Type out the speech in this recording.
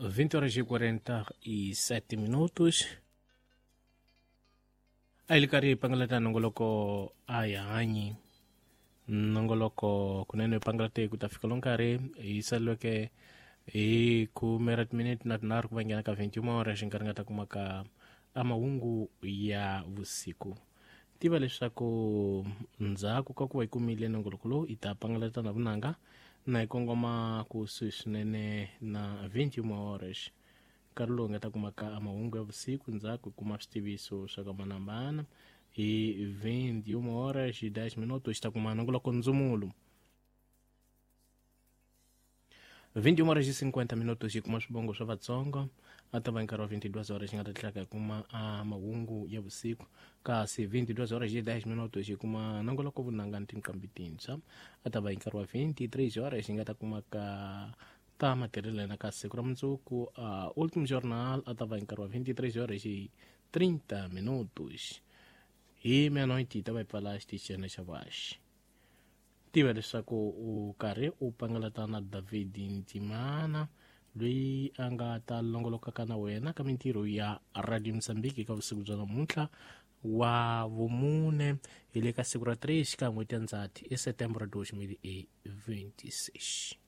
20 horas e 47 minutos. A hi ri karhi hi pangalata nongoloko a hi hanyi nongoloko kunene hi pangalate ku ta fika lo nkarhi hi saleleke hi khume ra timinete na tinharhu ku va nghena ka 21 horas nkarhi nga ta kuma ka a mahungu ya vusiku. Tiva leswaku ndzhaku ka ku va yi kumile nongoloko lowu yi ta pangalata na vunanga na yi kongoma kusuhi swinene na 21 horas, nkarhi lowu nga ta kuma ka mahungu ya vusiku. Ndzhaku hi kuma switiviso swa ka manambana hi 21 horas 10 minutos, xi ta kuma nongoloko ndzumulo. 21 horas e 50 minutos hi kuma swivongo swa Vatsongo. A ta va nkarhi wa 22 horas xi nga ta tlhela hi kuma a mahungu ya vusiku, kasi 22 horas e 10 minutos hi kuma nongoloko vunanga ni tinqambi tintshwa. A ta va hi nkarhi wa 23 horas xi nga ta kuma ka ta matirhelena ka siku ra mundzuku a Ultimo Journal. A ta va hi nkarhi wa 23 horas e 30 minutos. Hi meia-noite yi ta va yi pfala xitichini xa vaxi. Tiva leswaku u karhi u pangalata na David Ntimana, loyi a nga ta longolokaka na wena ka mintirho ya Radio Mozambique ka vusiku bya namuntlha wa vumune, hi le ka siku ra 3 ka n'hweti ya Ndzhati, i Setembro 2026.